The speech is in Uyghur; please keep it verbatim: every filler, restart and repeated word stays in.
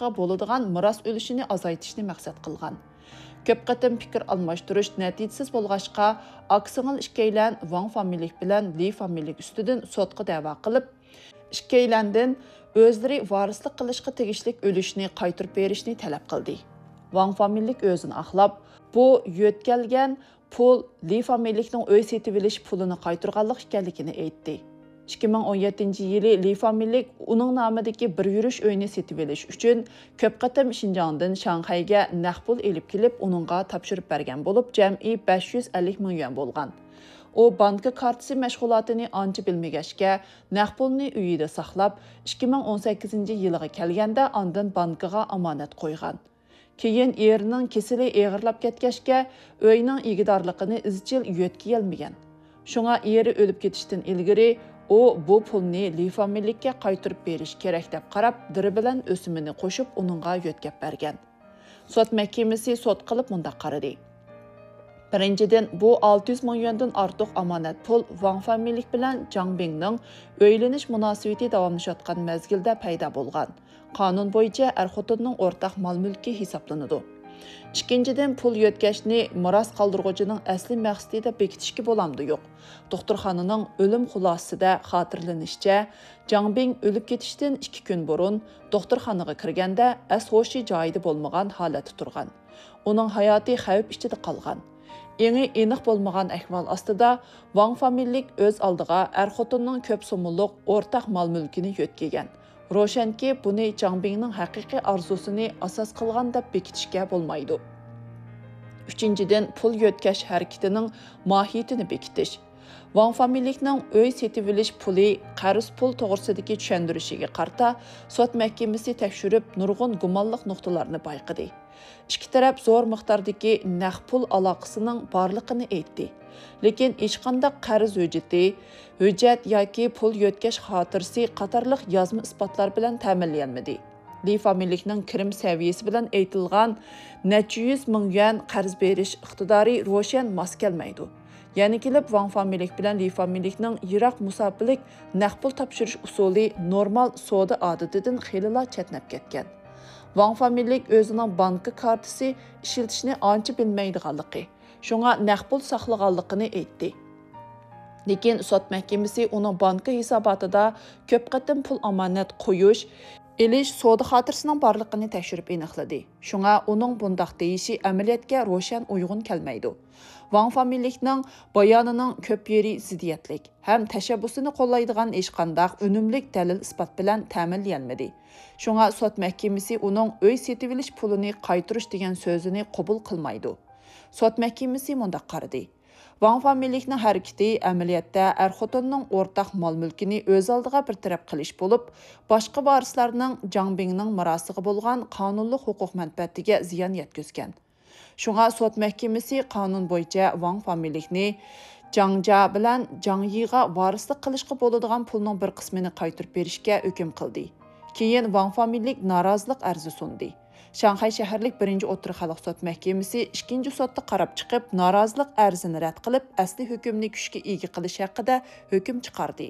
بولىدىغان مىراس ئۈلۈشىنى ئازايتىشنى مەقسەت قىلغان. كۆپ قېتىم پىكىر ئالماشتۇرۇش نەتىجىسىز بولغاچقا، ئاكا-سىڭىل ئىككىيلەن ۋاڭ فامىلىلىك بىلەن لى فامىلىلىك ئۈستىدىن سوتقا دەۋا قىلىپ، ئىككىيلەندىن ئۆزلىرى ۋارىسلىق قىلىشقا تېگىشلىك ئۈلۈشنى قايتۇرۇپ بېرىشنى تەلەپ قىلدى. ۋاڭ فامىلىلىك ئۆزىنى ئاقلاپ، بۇ يۆتكەلگەن پۇل لى فامىلىلىكنىڭ ئۆي سېتىۋېلىش پۇلىنى قايتۇرغانلىق ئىكەنلىكىنى ئېيتتى. ئىككى مىڭ ئون يەتتىنچى يىلى لى فامىلىلىك ئۇنىڭ نامىدىكى بىر يۈرۈش ئۆينى سېتىۋېلىش ئۈچۈن كۆپ قېتىم شىنجاڭدىن شاڭخەيگە نەق پۇل ئېلىپ كېلىپ، ئۇنىڭغا تاپشۇرۇپ بەرگەن بولۇپ، جەمئىي بەش يۈز ئەللىك مىڭ يۈەن بولغان. ئۇ بانكا كارتىسى مەشغۇلاتىنى ئانچە بىلمىگەچكە، نەق پۇلنى ئۆيىدە ساقلاپ، ئىككى مىڭ ئون سەككىزىنچى يىلىغا كەلگەندە ئاندىن بانكىغا ئامانەت قويغان. كېيىن ئېرىنىڭ كېسىلى ئېغىرلاپ كەتكەچكە، ئۆينىڭ ئىگىدارلىقىنى ئىزچىل يۆتكىيەلمىگەن. شۇڭا ئېرى ئۆلۈپ كېتىشتىن ئىلگىرى ئۇ بۇ پۇلنى لى فامىلىلىككە قايتۇرۇپ بېرىش كېرەك دەپ قاراپ، دىرى بىلەن ئۆسۈمىنى قوشۇپ ئۇنىڭغا يۆتكەپ بەرگەن. سوت مەھكىمىسى سوت قىلىپ مۇنداق قارىدى. بىرىنچىدىن، بۇ ئالتە يۈز مىڭ يۈەندىن ئارتۇق ئامانەت پۇل ۋاڭ فامىلىلىك بىلەن جاڭ بىڭنىڭ ئۆيلىنىش مۇناسىۋىتى داۋاملىشىۋاتقان مەزگىلدە پەيدا بولغان. قانۇن بويىچە ئەر-خوتۇننىڭ ئورتاق مال-مۈلكى ھېسابلىنىدۇ. ئىككىنچىدىن، پۇل يۆتكەشنى مىراس قالدۇرغۇچىنىڭ ئەسلىي مەقسىتى دەپ بېكىتىشكە بولامدۇ يوق؟ دوختۇرخانىنىڭ ئۆلۈم خۇلاسىسىدە خاتىرىلىنىشىچە، جاڭ بىڭ ئۆلۈپ كېتىشتىن ئىككى كۈن بۇرۇن دوختۇرخانىغا كىرگەندە ئەس-ھوشى جايىدا بولمىغان ھالەتتە تۇرغان. ئۇنىڭ ھاياتى خەۋپ ئىچىدە قالغان. ئېڭى ئېنىق بولمىغان ئەھۋال ئاستىدا، ۋاڭ فامىلىلىك ئۆز ئالدىغا ئەر-خوتۇننىڭ كۆپ سوممىلىق ئورتاق مال-مۈلكىنى يۆتكىگەن. روشەنكى، بۇنى جاڭ بىڭنىڭ ھەقىقىي ئارزۇسىنى ئاساس قىلغان دەپ بېكىتىشكە بولمايدۇ. ئۈچىنچىدىن، پۇل يۆتكەش ھەرىكىتىنىڭ ماھىيىتىنى بېكىتىش. ۋاڭ فامىلىلىكنىڭ ئۆي سېتىۋېلىش پۇلى، قەرز پۇل توغرىسىدىكى چۈشەندۈرۈشىگە قارىتا، سوت مەھكىمىسى تەكشۈرۈپ، نۇرغۇن گۇمانلىق نۇقتىلارنى بايقىدى. ئىككى تەرەپ زور مىقداردىكى نەق پۇل ئالاقىسىنىڭ بارلىقىنى ئېيتتى. لېكىن ھېچقانداق قەرز ھۆججىتى، ھۆججەت ياكى پۇل يۆتكەش خاتىرىسى قاتارلىق يازما ئىسپاتلار بىلەن تەمىنلىيەلمىدى. لى فامىلىلىكنىڭ كىرىم سەۋىيەسى بىلەن ئېيتىلغان نەچچە يۈز مىڭ يۈەن قەرز بېرىش ئىقتىدارى روشەن ماس كەلمەيدۇ. يەنە كېلىپ ۋاڭ فامىلىلىك بىلەن لى فامىلىلىكنىڭ يىراق مۇساپىلىك نەق پۇل تاپشۇرۇش ئۇسۇلى نورمال سودا ئادىتىدىن خېلىلا چەتنەپ كەتكەن. ۋاڭ فامىلىلىك ئۆزىنىڭ بانكا كارتىسى ئىشلىتىشنى ئانچە بىلمەيدىغانلىقى، شۇڭا نەق پۇل ساقلىغانلىقىنى ئېيتتى. لېكىن سوت مەھكىمىسى ئۇنىڭ بانكا ھېساباتىدا كۆپ قېتىم پۇل ئامانەت قويۇش، ئېلىش سودا خاتىرىسىنىڭ بارلىقىنى تەكشۈرۈپ ئېنىقلىدى. شۇڭا ئۇنىڭ بۇنداق دېيىشى ئەمەلىيەتكە روشەن ئۇيغۇن كەلمەيدۇ. ۋاڭ فامىلىلىكنىڭ بايانىنىڭ كۆپ يېرى زىددىيەتلىك ھەم تەشەببۇسىنى قوللايدىغان ھېچقانداق ئۈنۈملۈك دەلىل-ئىسپات بىلەن تەمىنلىيەلمىدى. شۇڭا سوت مەھكىمىسى ئۇنىڭ ئۆي سېتىۋېلىش پۇلىنى قايتۇرۇش دېگەن سۆزىنى قوبۇل قىلمايدۇ. سوت مەھكىمىسى مۇنداق قارىدى. ۋاڭ فامىلىلىكنىڭ ھەرىكىتى ئەمەلىيەتتە ئەر-خوتۇننىڭ ئورتاق مال-مۈلكىنى ئۆز ئالدىغا بىر تەرەپ قىلىش بولۇپ، باشقا ۋارىسلارنىڭ جاڭ بىڭنىڭ مىراسىغا بولغان قانۇنلۇق ھوقۇق مەنپەئەتىگە زىيان يەتكۈزگەن. شۇڭا سوت مەھكىمىسى قانۇن بويىچە ۋاڭ فامىلىلىكنى جاڭ جيا بىلەن جاڭ يىغا ۋارىسلىق قىلىشقا بولىدىغان پۇلنىڭ بىر قىسمىنى قايتۇرۇپ بېرىشكە ھۆكۈم قىلدى. كېيىن ۋاڭ فامىلىلىك نارازىلىق ئەرزى سۇندى. شاڭخەي شەھەرلىك بىرىنچى ئوتتۇرا خەلق سوت مەھكىمىسى ئىككىنچى سوتتا قاراپ چىقىپ، نارازىلىق ئەرزىنى رەت قىلىپ، ئەسلى ھۆكۈمنى كۈچكە ئىگە قىلىش ھەققىدە ھۆكۈم چىقاردى.